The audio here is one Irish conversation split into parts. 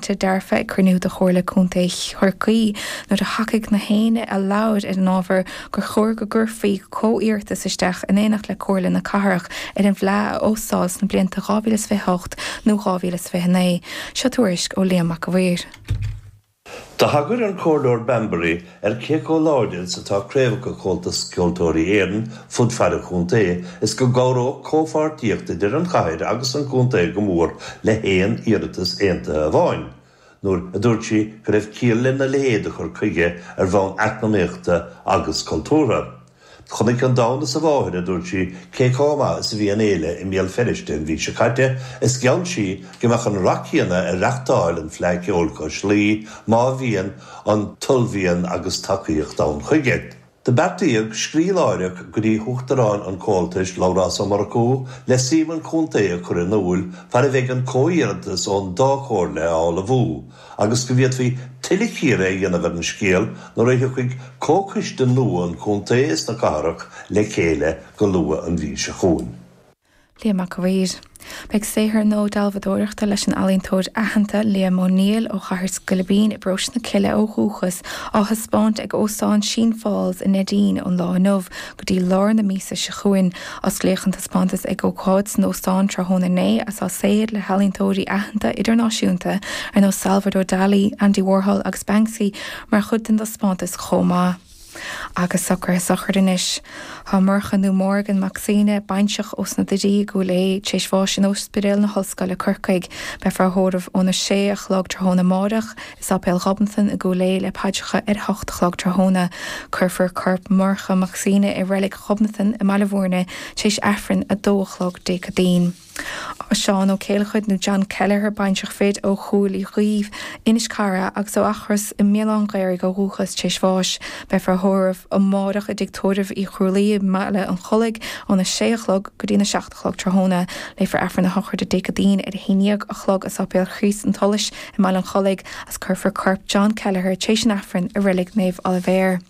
Dearfa ag cruinniú de Chomhairle Contae Chorcaí nuair a thacaigh na héinne a labhair ar an ábhar gur chóir go gcuirfí comhiarratas isteach in éineacht le Comhairle na Cathrach ar an bhFleadh a óstáil sna blianta 2028 nó 2029. Seo tuairisc ó Liam Mac a' Mhaoir. Do thagair an Comhairleoir Bambury ar cé chomh láidir is atá craobhacha Chomhaltas Ceoltóirí Éireann fud fad an chontae is go gcabhródh comhpháirtíocht idir an chathair agus an contae go mór le haon iarratas aontaithe amháin, nuair a dúirt sí go raibh ciall lena leithéid de chur chuige ar bhonn eacnamaíochta agus cultúrtha. Chonaic an domhan is a mháthair, a dúirt sí, cé chomh maith is a bhí an fhéile i mBéal Feirste an mhí seo caite is gheall sí go mbeadh an rath céanna ar reachtáil an Fleadh Cheoil cois Laoi má bhíonn an t-ullmhian agus tacaíocht ann chuige. Do beartaíodh scríobh láithreach go dtí hUachtarán an Chomhaltais, Labhrás Ó Murchú, le suim an chontae a chur in iúil fad a bheidh an comhiarratas ón dá chomhairle á ullmhú. agus go bhféadfaí tuilleadh cíoradh a dhéanamh ar an scéal nuair a thiocfaidh comhchoiste nua an chontae is na cathrach le chéile go luath an mhí seo chugainn. Liam Mac a' Mhaoir. Beidh saothar nua dealbhadóireachta leis an ealaíontóir aitheanta Liam O'Neill ó Chathair Scoilbín i bparóiste na Cille ó dhúchas á thaispeáint ag Óstán Sheen Falls i Neidín ón lá inniu go dtí lár na míosa seo chugainn. Osclaíodh an taispeántas ag ócáid san óstán tráthnóna inné agus tá saothair le healaíontóirí aitheanta idirnáisiúnta ar nós Salvador Dali, Andy Warhol agus Banksy mar chuid den taispeántas chomh maith. Agus socruithe sochraide anois. Tá Murchadh nó Morgan Mac Suibhne, bainseach ós na Doirí i gCúil Aodha, tar éis bháis in Ospidéal na hOllscoile, Corcaigh. Beifear á thórramh óna sé a chlog tráthnóna amáireach. I Sáipéal Ghobnatan i gCúil Aodha le paidreacha ar a hocht a chlog tráthnóna. Cuirfear corp Mhurchadh Mac Suibhne i Reilig Ghobnatan i mBaile Bhúirne tar éis Aifreann 2 a chlog Dé Céadaoin. Seán Ó Céileachair nó John Kelleher, bainseach fir ó Chúil Uí Dhuibh, Inis Cara agus ó Eachros i mBéal Átha'n Ghaorthaidh ó dhúchas tar éis bháis. Beifear á thórramh amáireach i dTigh Tórraimh Uí Chrualaoi i mBaile an Chollaigh óna sé a chlog go dtína seacht a chlog tráthnóna. Léifear Aifreann na sochraide Dé Céadaoin ar a haon dhéag a chlog i Sáipéal Chríost an tSolais i mBaile an Chollaigh agus cuirfear corp John Kelleher tar éis an Aifrinn i Reilig Naomh Oilibhéar.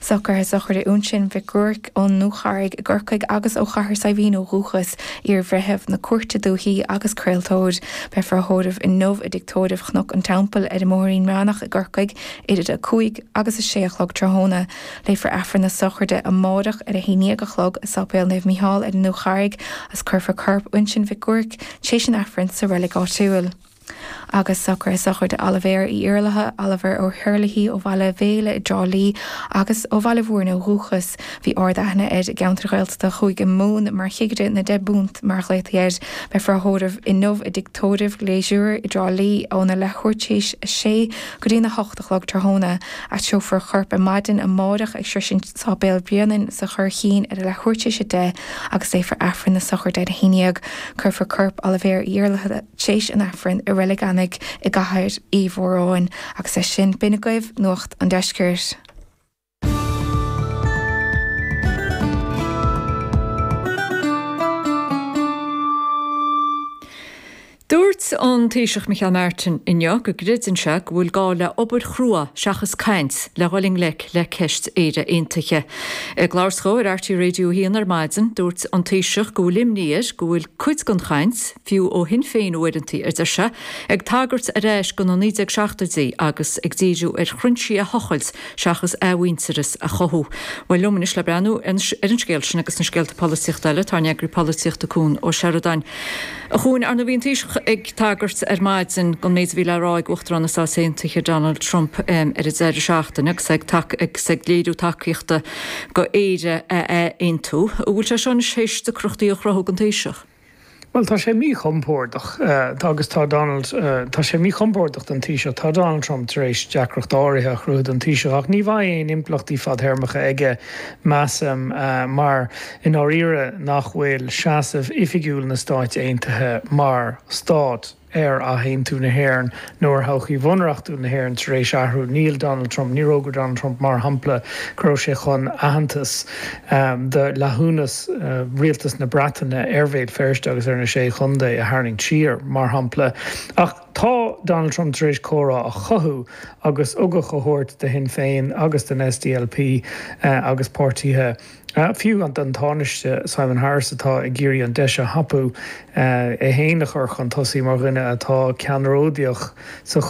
Socruithe sochraide Uinseann Mhic Ruairc ón nDúcharraig i gCorcaigh agus ó Chathair Saidhbhín ó dhúchas, iar-bhreitheamh na Cúirte Dúichí agus craoltóir. Beifear á thórramh inniu i dTigh Tórraimh Chnoc an Teampaill ar an mBóithrín Meánach i gCorcaigh idir a 5 agus a 6 a chlog tráthnóna. Léifear Aifreann na sochraide amáireach ar a haon dhéag a chlog i Sáipéal Naomh Mícheál ar an nDúcharraig agus cuirfear corp Uinseann Mhic Ruairc tar éis an Aifrinn sa reilig áitiúil. Agus socruithe sochraide Oilibhéir Uí Iarlaithe, Oliver O'Herlihy, ó Bhaile Bhéile i dTrá Lí agus ó Bhaile Bhúirne ó dhúchas. Bhí ard-aithne air i gceantar Ghaeltachta Chúige Mumhan mar chigire na ndeich bpunt mar a ghlaotaí air. Beifear á thórramh inniu i dTigh Tórraimh Leisure i dTrá Lí óna leathuair tar éis a sé go dtína hocht a chlog tráthnóna. Aistreofar a chorp ar maidin amáireach ag sroisint Sáipéal Bhréanainn sa Churraichín ar a leathuair tar éis a 10 agus léifear Aifreann na sochraide ar a haon dhéag. Cuirfear corp Oilibhéir Uí Iarlaithe tar éis an Aifrinn i Reilig Eanaigh i gCathair Uí Mhóráin. Agus leis sin, b'in agaibh Nuacht an Deiscirt. Dúirt an Taoiseach Micheál Martin inniu go gcreideann sé go bhfuil gá le obair chrua seachas caint le dhul i ngleic le ceist Éire Aontaithe. Ag labhairt dhó ar RTÉ Radio 1 ar maidin, dúirt an Taoiseach go bhfuil imní air go bhfuil cuid den chaint, fiú ó Shinn Féin uaireanta, a deir sé, ag tagairt ar ais go na 1970idí agus ag díriú ar thrinsí a thochailt seachas athmhuintearas a chothú. Bhuel, liom anois le breathnú ar an scéal sin agus na scéalta polaitíochta eile, tá ár n-eagraí polaitíochta Cuan Ó Seireadáin. A Chuain, ar ndóigh bhí an Taoiseach ag tagairt ar maidin don méid a bhí le rá ag Uachtarán na Stát Aontaithe Donald Trump ar an deireadh seachtaine agus é ag léiriú tacaíochta go Éire a athaontú. An bhfuil sé seo anois théis deacrachtaí a chruthú don Taoiseach? Bhuel, tá sé míchompordach agus tá Donald, tá sé míchompordach don Taoiseach. Tá Donald Trump tar éis deacracht áirithe a chruthú don Taoiseach ach ní bheidh aon impleachtaí fadthéarmacha aige, measaim, mar i ndáiríre nach bhfuil seasamh oifigiúil na Stáit Aontaithe mar stát ar athaontú na hÉireann nó ar thodhchaí bhunreachtúil na hÉireann tar éis athrú. Níl Donald Trump, níor fhógair Donald Trump, mar shampla, go raibh sé chun aitheantas do fhleithiúnas rialtas na Breataine ar Bhéal Feirste agus ar na Sé Chontae a tharraingt siar, mar shampla. Ach tá Donald Trump tar éis comhrá a chothú agus ugach a thabhairt do Shinn Féin agus don SDLP agus páirtithe Fiú don Tánaiste Simon Harris atá ag iarraidh an deis a thapú é féin a chur chun tosaigh mar dhuine. atá ceannródaíoch sa.